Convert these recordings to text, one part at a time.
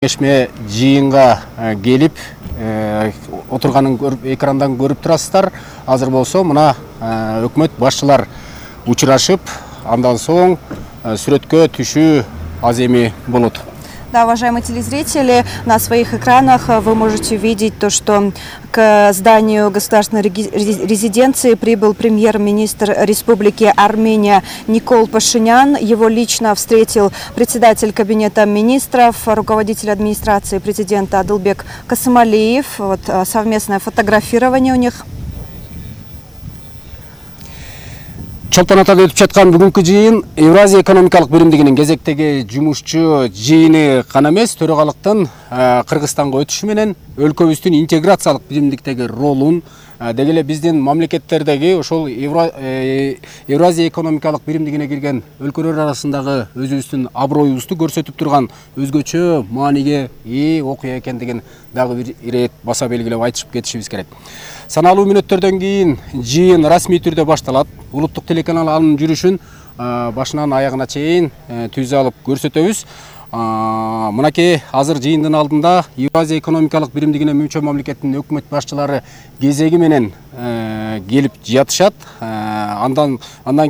Кеңешме жыйынга келип отурганын экрандан көрүп турасыздар. Азыр болсо мына өкмөт башчылар учурашып, андан соң сүрөткө түшүү аз эми болот. Да, уважаемые телезрители, на своих экранах вы можете видеть то, что к зданию государственной резиденции прибыл премьер-министр Республики Армения Никол Пашинян. Его лично встретил председатель кабинета министров, руководитель администрации президента Адылбек Касымалиев. Вот совместное фотографирование у них. Чолпон атада өтүп жаткан бүгүнкү жыйын Евразия экономикалык биримдигинин кезектеги жумушчу жыйыны гана эмес, төрагалыктын Кыргызстанга өтүшү менен өлкөбүздүн интеграциялык биримдиктеги ролун, деги эле биздин мамлекеттердеги ошол Евразия экономикалык биримдигине кирген өлкөлөр арасындагы өзүбүздүн аброюбузду көрсөтүп турган өзгөчө мааниге ээ окуя экендигин дагы бир ирет баса белгилеп айтышып кетишибиз керек. Саналуу мүнөттөрдөн кийин жыйын расмий түрдө башталат. Улуттук телеканал анын жүрүшүн башынан аягына чейин түз алып көрсөтөбүз. Мынакей азыр жыйындын алдында Евразия экономикалык биримдигине мүчө мамлекеттин өкмөт башчылары кезеги менен келип жатышат. Андан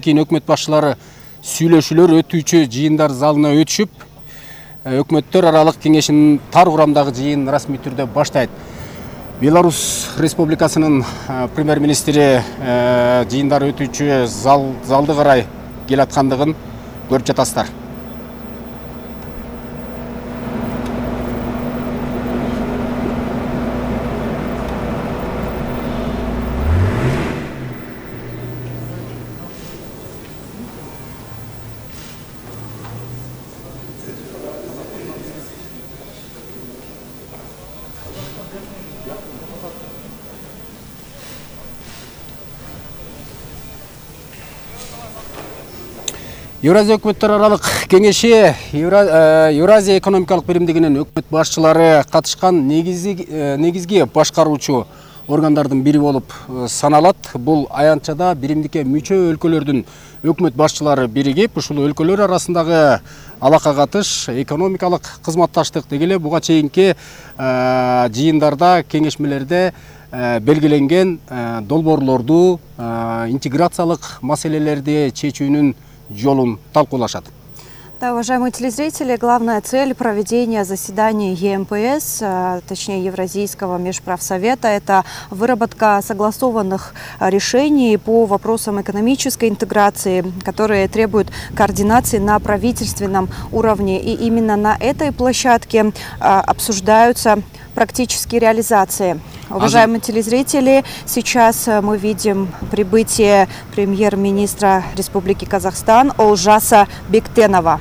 кийин өкмөт башчылары сүйлөшүүлөр өтүүчү жыйындар залына өтүшүп, өкмөттөр аралык кеңешинин тар курамдагы жыйын расмий түрдө баштайт. Беларусь Республикасынын премьер-министри жыйындар өтүүчү залды карай келаткандыгын көрүп жатасыздар. Евразия өкмөттөр аралык кеңеши Евразия экономикалык биримдигинин өкмөт башчылары катышкан негизги башкаруучу органдардын бири болуп саналат. Бул аянтчада биримдикке мүчө өлкөлөрдүн өкмөт башчылары биригип, ушул өлкөлөр арасындагы алака катыш, экономикалык кызматташтык деги эле буга чейинки жыйындарда, кеңешмелерде белгиленген долбоорлорду, интеграциялык маселелерди чечүүнүн жолун талкуулашат. Да, уважаемые телезрители, главная цель проведения заседаний ЕМПС, точнее Евразийского межправсовета, это выработка согласованных решений по вопросам экономической интеграции, которые требуют координации на правительственном уровне. И именно на этой площадке обсуждаются практические реализации. Уважаемые телезрители, сейчас мы видим прибытие премьер-министра Республики Казахстан Олжаса Бектенова.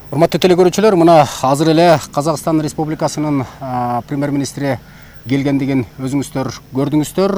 Урматтуу телекөрүүчүлөр, мына азыр эле Казакстан Республикасынын премьер-министри келгендигин өзүңүздөр көрдүңүздөр.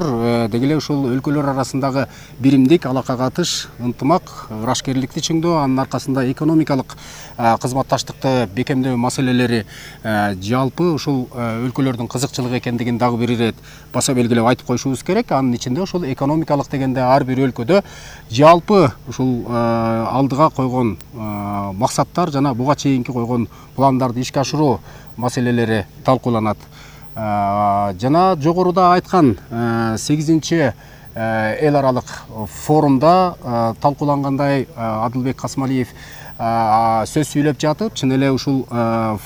Деги эле ушул өлкөлөр арасындагы биримдик, алака катыш, ынтымак, ырашкерликти чыңдоо, анын аркасында экономикалык кызматташтыкты бекемдөө маселелери жалпы ушул өлкөлөрдүн кызыкчылыгы экендигин дагы бир ирет баса белгилеп айтып коюшубуз керек. Анын ичинде ушул экономикалык дегенде ар бир өлкөдө жалпы ушул алдыга койгон максаттар жана буга чейинки койгон пландарды ишке ашыруу маселелери талкууланат. Жана жогоруда айткан 8-чи эл аралык форумда талкуулангандай Адылбек Касымалиев сөз сүйлөп жатып, чын эле ушул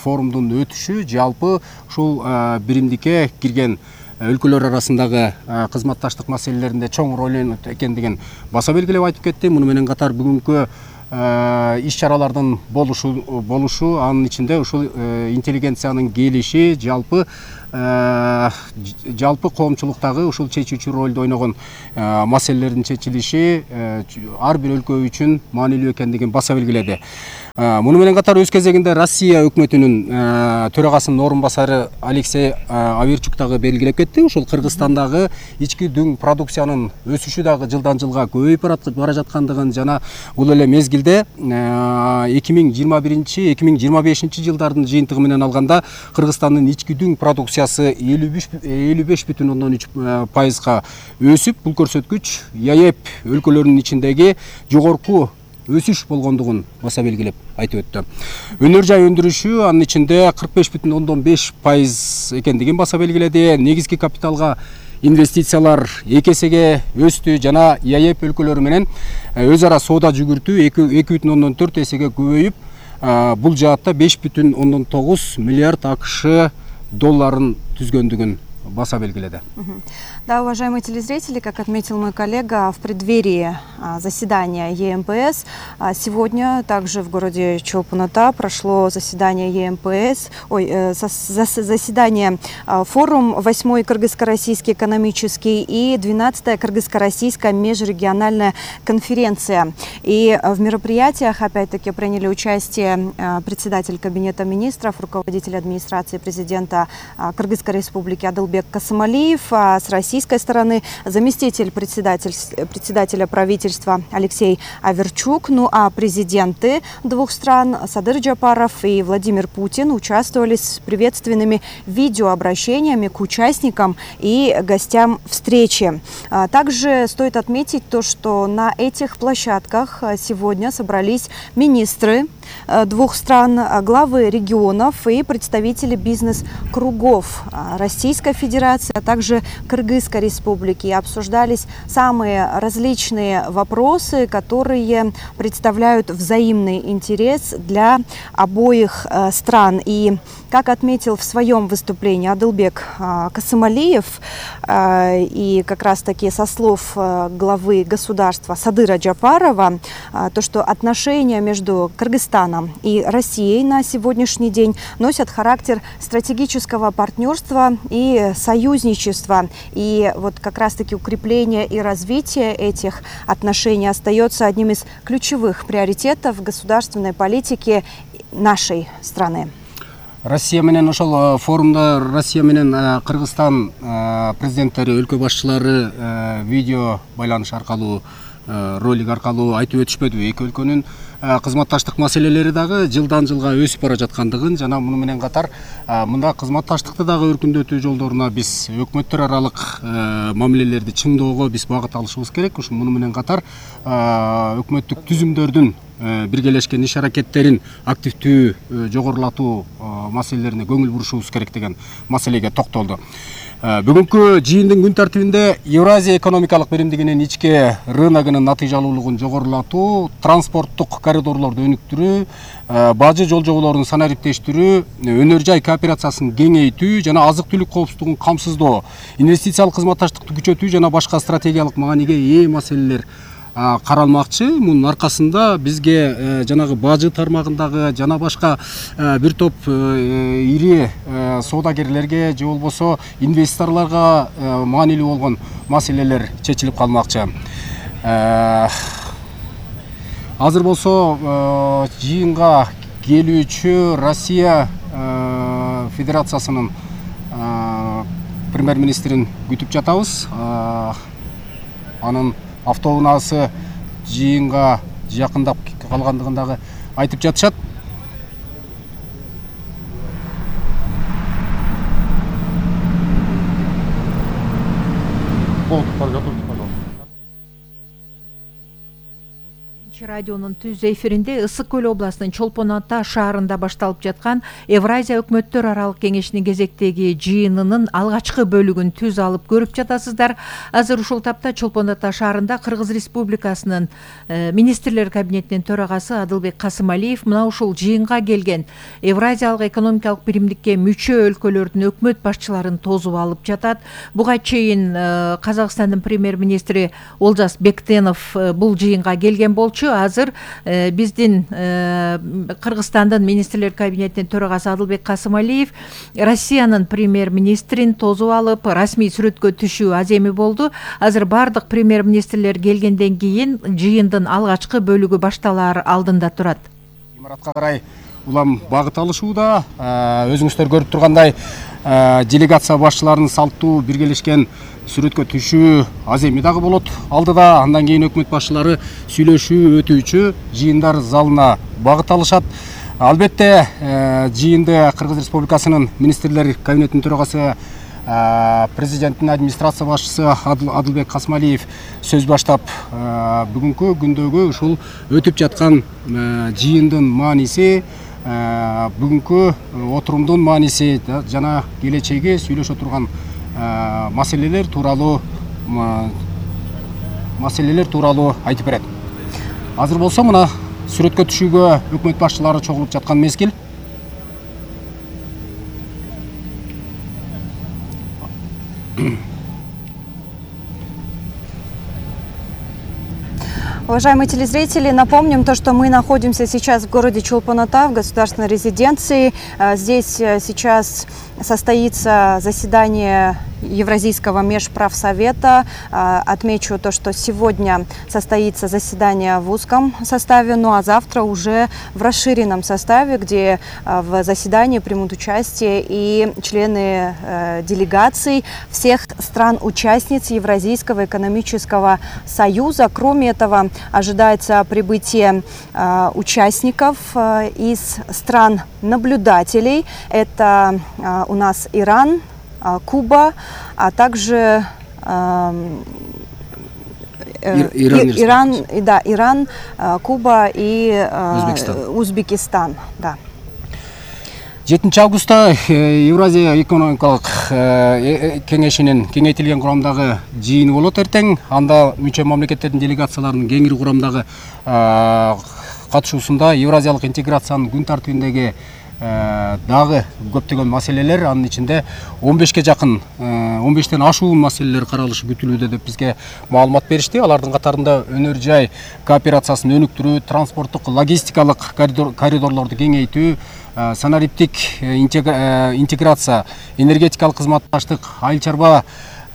форумдун өтүшү жалпы ушул биримдикке кирген өлкөлөр арасындагы кызматташтык маселелеринде чоң роль ойнойт экендигин баса белгилеп айтып кетти. Муну менен катар бүгүнкү иш-чаралардын болушу, анын ичинде ушул интеллигенциянын келиши, жалпы коомчулуктагы ушул чечүүчү ролду ойногон маселелердин чечилиши ар бир өлкө үчүн маанилүү экендигин баса белгиледи. Муну менен катар өз кезегинде Россия өкмөтүнүн төрагасынын орун басары Алексей Аверчук дагы белгилеп кетти. Ушул Кыргызстандагы ички дүң продукциянын өсүшү дагы жылдан жылга көбөйүп бара жаткандыгын жана бул эле мезгилде 2021-2025 жылдардын жыйынтыгы менен алганда Кыргызстандын ички дүң продукциясы 55,3%га өсүп, бул көрсөткүч ЕАЭП өлкөлөрүнүн ичиндеги жогорку өсүш болгондугун баса белгилеп айтып өттү. Өнөр жай өндүрүшү анын ичинде 45,5% экендигин баса белгиледи. Негизги капиталга инвестициялар 2 эсеге өстү жана ЕАЭП өлкөлөрү менен өз ара соода жүгүртүү 2,4 эсеге көбөйүп, бул жаатта 5,9 миллиард АКШ долларын түзгөндүгүн баса белгиледи. Да, уважаемые телезрители, как отметил мой коллега, в преддверии заседания ЕМПС сегодня также в городе Чолпон-Ата прошло заседание ЕМПС, заседание форум 8-й Кыргызско-российский экономический и 12-я Кыргызско-российская межрегиональная конференция. И в мероприятиях опять-таки приняли участие председатель Кабинета министров, руководитель администрации президента Кыргызской республики Адылбек Касымалиев, а с российской стороны заместитель председателя правительства Алексей Аверчук, ну а президенты двух стран Садыр Джапаров и Владимир Путин участвовали с приветственными видеообращениями к участникам и гостям встречи. Также стоит отметить то, что на этих площадках сегодня собрались министры двух стран, главы регионов и представители бизнес-кругов Российской Федерации, а также Кыргызской Республики. Обсуждались самые различные вопросы, которые представляют взаимный интерес для обоих стран. И как отметил в своем выступлении Адылбек Касымалиев, и как раз-таки со слов главы государства Садыра Джапарова, то, что отношения между Кыргызстаном и Россией на сегодняшний день носят характер стратегического партнерства и союзничества. И вот как раз-таки укрепление и развитие этих отношений остается одним из ключевых приоритетов государственной политики нашей страны. Россия менен ошол форумда Россия менен Кыргызстан президенттери, өлкө башчылары видео байланыш аркылуу, ролик аркылуу айтып өтүшпөдүбү? Эки өлкөнүн кызматташтык маселелери дагы жылдан жылга өсүп бара жаткандыгын жана муну менен катар мында кызматташтыкты дагы өркүндөтүү жолдоруна биз өкмөттөр аралык мамилелерди чыңдоого биз багыт алышыбыз керек. Ушул муну менен катар өкмөттүк түзүмдөрдүн биргелешкен иш аракеттерин активдүү жогорулатуу маселелерине көңүл бурушубуз керек деген маселеге токтолду. Бүгүнкү жыйындын күн тартибинде Евразия экономикалык биримдигинин ички рыногунун натыйжалуулугун жогорулатуу, транспорттук коридорлорду өнүктүрүү, бажы жол жоболорун санариптештирүү, өнөр жай кооперациясын кеңейтүү жана азык-түлүк коопсуздугун камсыздоо, инвестициялык кызматташтыкты күчөтүү жана башка стратегиялык мааниге ээ маселелер каралмакчы. Мунун аркасында бизге жанагы бажы тармагындагы жана башка бир топ ири соодагерлерге же болбосо инвесторлорго маанилүү болгон маселелер чечилип калмакчы. Азыр болсо жыйынга келүүчү Россия Федерациясынын премьер-министрин күтүп жатабыз. Анын автоунаасы жыйынга жакындап калгандыгын дагы айтып жатышат. Радионун түз эфиринде Ысык көл областынын Чолпон-Ата шаарында башталып жаткан Евразия өкмөттөр аралык кеңешинин кезектеги жыйынынын алгачкы бөлүгүн түз алып көрүп жатасыздар. Азыр ушул тапта Чолпон-Ата шаарында Кыргыз Республикасынын министрлер кабинетинин төрагасы Адылбек Касымалиев мына ушул жыйынга келген Евразиялык экономикалык биримдикке мүчө өлкөлөрдүн өкмөт башчыларын тосуп алып жатат. Буга чейин Казакстандын премьер-министри Олжас Бектенов бул жыйынга келген болчу. Азыр биздин Кыргызстандын министрлер кабинетинин төрагасы Адылбек Касымалиев Россиянын премьер-министрин тосуп алып расмий сүрөткө түшүү аземи болду. Азыр бардык премьер-министрлер келгенден кийин жыйындын алгачкы бөлүгү башталаар алдында турат. имаратка карай улам багыт алышууда. Өзүңүздөр көрүп тургандай делегация башчыларынын салттуу биргелешкен сүрөткө түшүү аз эми дагы болот алдыда. Андан кийин өкмөт башчылары сүйлөшүү өтүүчү жыйындар залына багыт алышат. Албетте жыйынды Кыргыз Республикасынын министрлер кабинетинин төрагасы, президенттин администрация башчысы Адылбек Касмалиев сөз баштап, бүгүнкү күндөгү ушул өтүп жаткан жыйындын мааниси, бүгүнкү отурумдун мааниси жана келечеги сүйлөшө турган маселелер тууралуу айтып берет. Азыр болсо мына сүрөткө түшүүгө өкмөт башчылары чогулуп жаткан мезгил. Уважаемые телезрители, напомним то, что мы находимся сейчас в городе Чолпон-Ата, в государственной резиденции. Здесь сейчас состоится заседание Евразийского межправсовета. Отмечу то, что сегодня состоится заседание в узком составе, ну а завтра уже в расширенном составе, где в заседании примут участие и члены делегаций всех стран-участниц Евразийского экономического союза. Кроме этого, ожидается прибытие участников из стран-наблюдателей. Это у нас Иран, Куба, а также Иран, Куба и Узбекистан. Да. 7 августта Евразия экономикалык кеңешинин кеңейтилген курамдагы жыйыны болот эртең. Анда мүчө мамлекеттердин делегацияларынын кеңири курамдагы катышуусунда Евразиялык интеграциянын күн тартибиндеги дагы көптөгөн маселелер, анын ичинде 15ке жакын, 15тен ашуун маселелер каралышы күтүлүүдө деп бизге маалымат беришти. Алардын катарында өнөр жай кооперациясын өнүктүрүү, транспорттук логистикалык коридорлорду кеңейтүү, санариптик интеграция, энергетикалык кызматташтык, айыл чарба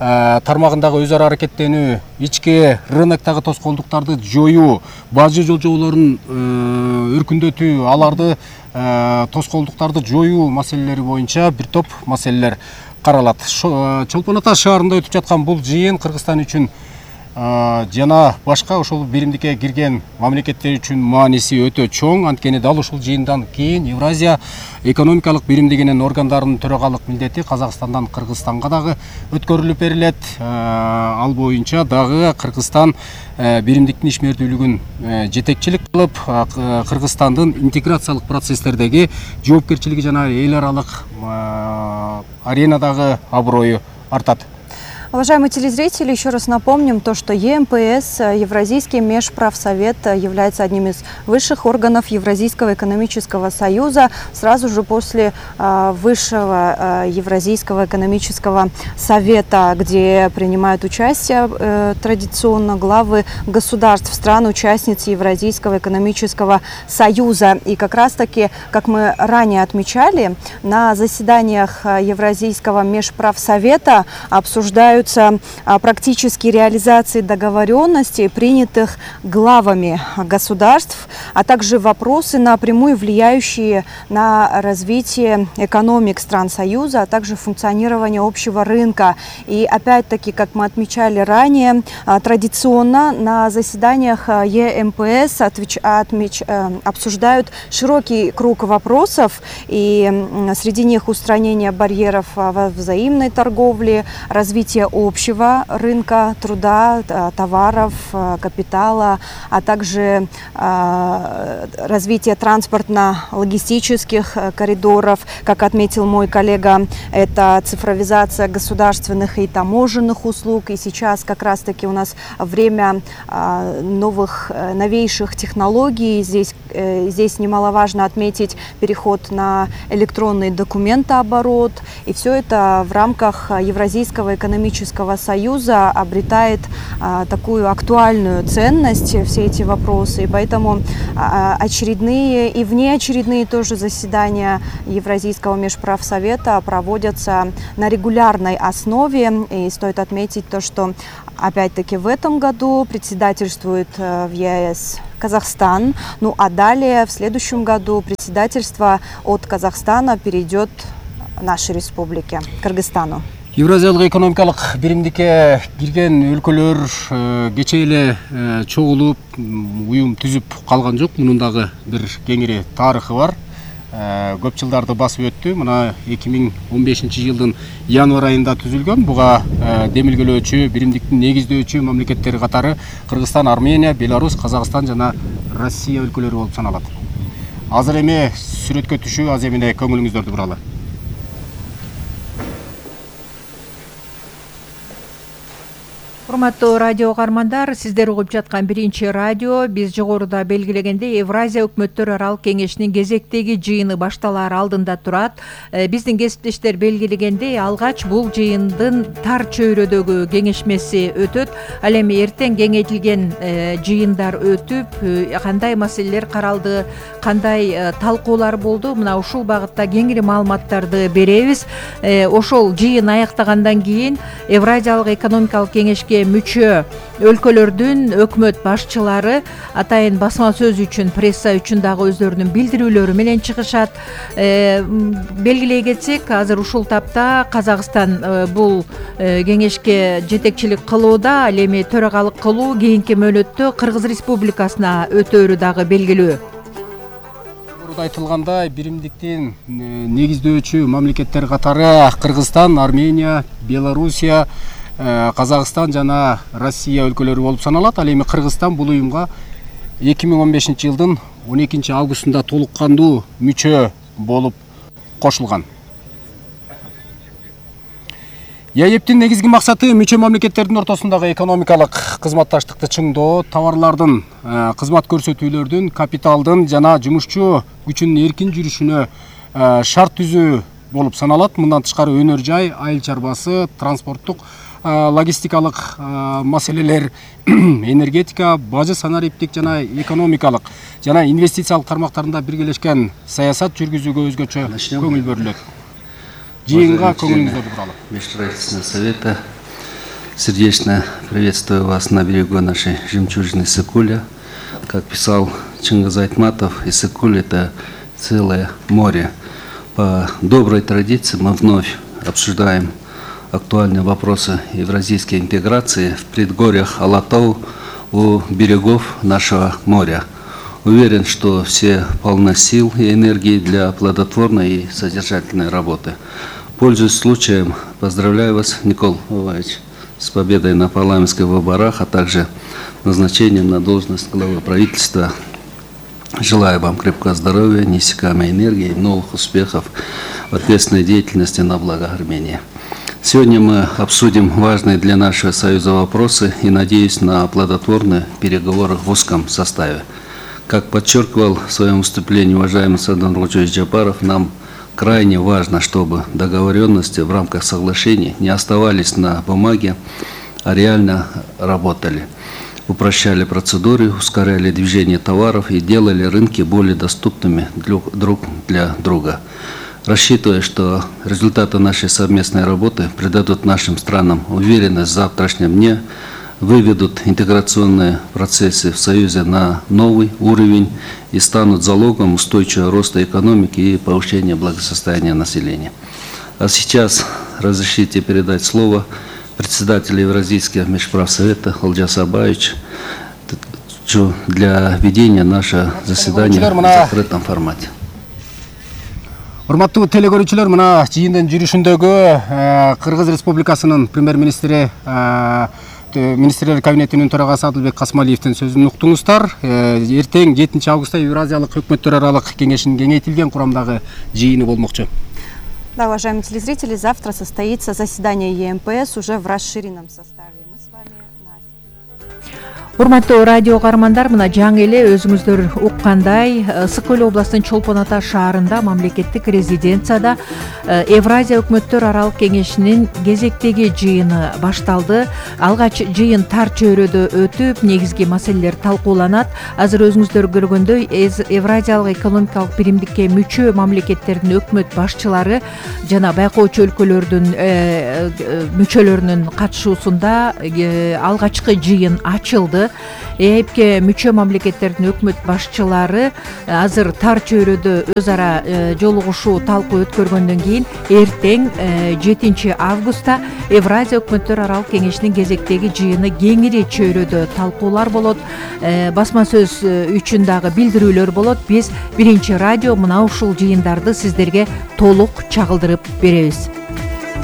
тармагындагы өз ара аракеттенүү, ички рыноктогу тоскоолдуктарды жоюу, бажы жолжоолорун өркүндөтүү, аларды тоскоолдуктарды жоюу маселелери боюнча бир топ маселелер каралат. Чолпон-Ата шаарында өтүп жаткан бул жыйын Кыргызстан үчүн жана башка ошол биримдикке кирген мамлекеттер үчүн мааниси өтө чоң. Анткени дал ушул жыйындан кийин Евразия экономикалык биримдигинин органдарынын төрагалык милдети Казакстандан Кыргызстанга дагы өткөрүлүп берилет. Ал боюнча дагы Кыргызстан биримдиктин ишмердүүлүгүн жетекчилик кылып, Кыргызстандын интеграциялык процесстердеги жоопкерчилиги жана эл аралык аренадагы аброю артат. Уважаемые телезрители, еще раз напомним то, что ЕМПС, Евразийский межправсовет, является одним из высших органов Евразийского экономического союза. Сразу же после высшего Евразийского экономического совета, где принимают участие традиционно главы государств, стран-участниц Евразийского экономического союза. И как раз-таки, как мы ранее отмечали, на заседаниях Евразийского межправсовета обсуждают практические реализации договоренностей, принятых главами государств, а также вопросы, напрямую влияющие на развитие экономик стран Союза, а также функционирование общего рынка. И опять-таки, как мы отмечали ранее, традиционно на заседаниях ЕМПС обсуждают широкий круг вопросов, и среди них устранение барьеров во взаимной торговле, развитие общего рынка труда, товаров, капитала, а также развитие транспортно-логистических коридоров. Как отметил мой коллега, это цифровизация государственных и таможенных услуг. И сейчас как раз-таки у нас время новейших технологий. Здесь немаловажно отметить переход на электронный документооборот. И все это в рамках Евразийского экономического союза обретает такую актуальную ценность, все эти вопросы. И поэтому очередные и внеочередные тоже заседания Евразийского межправсовета проводятся на регулярной основе. И стоит отметить то, что опять-таки в этом году председательствует в ЕС Казахстан. Ну а далее в следующем году председательство от Казахстана перейдет нашей республике, Кыргызстану. Евразиялык экономикалык биримдикке кирген өлкөлөр кечээ эле чогулуп уюм түзүп калган жок. Мунун дагы бир кеңири тарыхы бар. Көп жылдарды басып өттү. Мына 2015 жылдын январь айында түзүлгөн. Буга демилгелөөчү, биримдиктин негиздөөчү мамлекеттери катары Кыргызстан, Армения, Беларусь, Казакстан жана Россия өлкөлөрү болуп саналат. Азыр эми сүрөткө түшүү аз эмне көңүлүңүздөрдү буралы. Урматтуу радио угармандар, сиздер угуп жаткан биринчи радио. Биз жогоруда белгилегендей Евразия өкмөттөр аралык кеңешинин кезектеги жыйыны башталаар алдында турат. Биздин кесиптештер белгилегендей, алгач бул жыйындын тар чөйрөдөгү кеңешмеси өтөт. Ал эми эртең кеңейтилген жыйындар өтүп, кандай маселелер каралды, кандай талкуулар болду, мына ушул багытта кеңири маалыматтарды беребиз. Ошол жыйын аяктагандан кийин Евразиялык экономикалык кеңешке мүчө өлкөлөрдүн өкмөт башчылары атайын басма сөз үчүн, пресса үчүн дагы өздөрүнүн билдирүүлөрү менен чыгышат. Белгилей кетсек, азыр ушул тапта Казакстан бул кеңешке жетекчилик кылууда, ал эми төрагалык кылуу кийинки мөөнөттө Кыргыз Республикасына өтөөрү дагы белгилүү. Айтылгандай, биримдиктин негиздөөчү мамлекеттер катары Кыргызстан, Армения, Белоруссия, Казакстан жана Россия өлкөлөрү болуп саналат. Ал эми Кыргызстан бул уюмга 2015 жылдын 12 августунда толук кандуу мүчө болуп кошулган. ЯЭПтин негизги максаты мүчө мамлекеттердин ортосундагы экономикалык кызматташтыкты чыңдоо, товарлардын, кызмат көрсөтүүлөрдүн, капиталдын жана жумушчу күчүнүн эркин жүрүшүнө шарт түзүү болуп саналат. Мындан тышкары өнөр жай, айыл чарбасы, транспорттук, логистикалык маселелер, энергетика, бажы, санариптик жана экономикалык жана инвестициялык тармактарында биргелешкен саясат жүргүзүүгө өзгөчө көңүл бөлүнөт. Жыйынга көңүлүңүздөрдү буралы. Межправительственного совета. Сердечно приветствую вас на берегу нашей жемчужины Иссык-Куля. Как писал Чингиз Айтматов, Иссык-Куль — это целое море. По доброй традиции мы вновь обсуждаем актуальные вопросы евразийской интеграции в предгорьях Алатау у берегов нашего моря. Уверен, что все полны сил и энергии для плодотворной и содержательной работы. Пользуясь случаем, поздравляю вас, Никол Иванович, с победой на парламентских выборах, а также назначением на должность главы правительства. Желаю вам крепкого здоровья, неиссякаемой энергии и новых успехов в ответственной деятельности на благо Армении. Сегодня мы обсудим важные для нашего Союза вопросы и надеюсь на плодотворные переговоры в узком составе. Как подчеркивал в своем выступлении уважаемый Саадан Нургулжиевич Джапаров, нам крайне важно, чтобы договоренности в рамках соглашений не оставались на бумаге, а реально работали. Упрощали процедуры, ускоряли движение товаров и делали рынки более доступными друг для друга. Рассчитывая, что результаты нашей совместной работы придадут нашим странам уверенность в завтрашнем дне, выведут интеграционные процессы в Союзе на новый уровень и станут залогом устойчивого роста экономики и повышения благосостояния населения. А сейчас разрешите передать слово председателю Евразийского межправсовета Олжасу Абаевичу для ведения нашего заседания в закрытом формате. Урматтуу телекөрүүчүлөр, мына жыйындын жүрүшүндөгү Кыргыз Республикасынын премьер-министри Министрлер кабинетинин төрагасы Адылбек Касмалиевдин сөзүн уктуңуздар. Эртең 7 августта Евразиялык өкмөттөр аралык кеңешинин кеңейтилген курамдагы жыйыны болмокчу. Да, уважаемые телезрители, завтра состоится заседание ЕМПС уже в расширенном составе. Мы с вами Урматтуу радио угармандар, мына жаңы эле өзүңүздөр уккандай, Ысык-Көл областынын Чолпон Ата шаарында мамлекеттик резиденцияда Евразия өкмөттөр аралык кеңешинин кезектеги жыйыны башталды. Алгач жыйын тар чөйрөдө өтүп, негизги маселелер талкууланат. Азыр өзүңүздөр көргөндөй, Евразиялык экономикалык биримдикке мүчө мамлекеттердин өкмөт башчылары жана байкоочу өлкөлөрдүн мүчөлөрүнүн катышуусунда алгачкы жыйын ачылды. ЭЭПке мүчө мамлекеттердин өкмөт башчылары азыр тар чөйрөдө өз ара жолугушуу талкуу өткөргөндөн кийин эртең 7 августта Евразия өкмөттөр аралык кеңешинин кезектеги жыйыны кеңири чөйрөдө талкуулар болот, басма сөз үчүн дагы билдирүүлөр болот. Биз Биринчи радио мына ушул жыйындарды сиздерге толук чагылдырып беребиз.